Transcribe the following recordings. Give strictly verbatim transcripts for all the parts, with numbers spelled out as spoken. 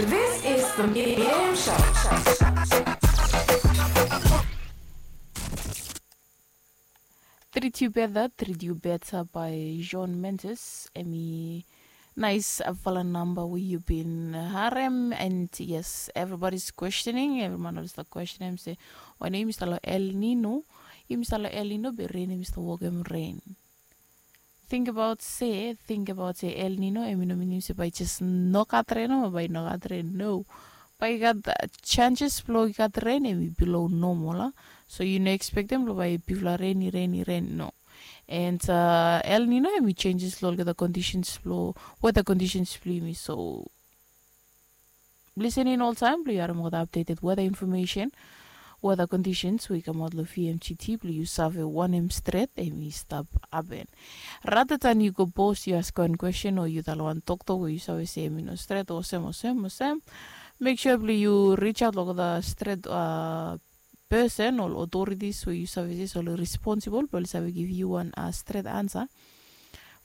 This is the Miriam Show. Treat You Better, Treat You Better by Shawn Mendes. Hemi naesfala namba we yu bin harem, and yes, everybody's questioning, evri man oli stap questionem se wanem yumi stap long El Nino. Yumi stap long El Nino be ren hemi stap wokem ren. Tingbaot se, tingbaot se El Nino hemi no minim se bae i jes no gat ren nomo, bae i no gat ren, no. Bae i gat chances blong i gat ren hemi bilo nomo la. So yu no ekspektem blong bae bigfala ren i ren i ren, no. And El Nino hemi changes long olgeta conditions blong, weather conditions blong yumi. So listening oltaem blong yu harem olgeta updated weather information, weather conditions we i kamaot long V M G T blong yu save wanem stret hemi stap hapen. Rather than yu go post, yu askem wan question o yu talem wan toktok we yu save se hemi no stret, olsem olsem olsem, mek sua blong yu reach out long olgeta stret person o authorities we yu save se oli responsible blong oli save givim yu wan stret ansa.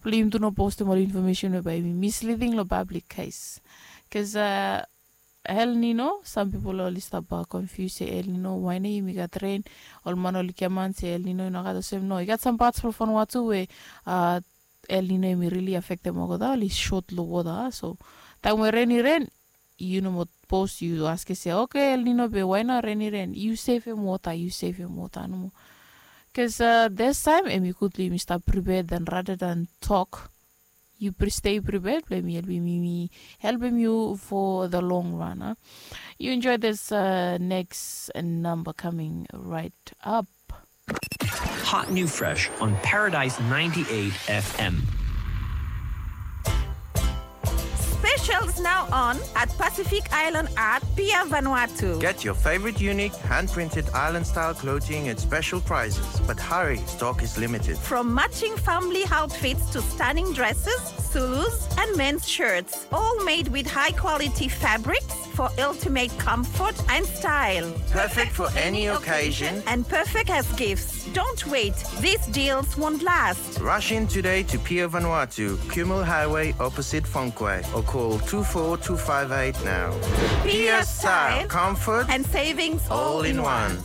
Blong yumi tu no postem ol information we bae hemi misleading long public case. Bikos El Nino, sam pipol oli stap confuse se El Nino wanem, yumi gat ren, ol man oli giaman se El Nino i no gat, olsem no, i gat sam pats blong Vanuatu we El Nino hemi rili afektem olgeta, oli sot long wota. So taem we ren i ren, yu no moa post, yu askem se, okay, El Nino be wanem, ren i ren, yu sevem wota, yu sevem wota nomo. Bikos distaem hemi gud blong yumi stap prepare than rather than tok. Yu stay prepared blong hemi helpem yumi, helpem yu for the long run. Yu enjoy this next number coming right up. Hot new fresh on Paradise ninety-eight F M. Specials now on at Pacific Island Art, Pier Vanuatu. Get your favorite unique hand-printed island-style clothing at special prices, but hurry, stock is limited. From matching family outfits to stunning dresses, Zulus, and men's shirts, all made with high-quality fabrics for ultimate comfort and style. Perfect for any occasion and perfect as gifts. Don't wait, these deals won't last. Rush in today to Pier Vanuatu, Kumul Highway, opposite Fonquay, or call two four two five eight now. Pier style, comfort, and savings all in one.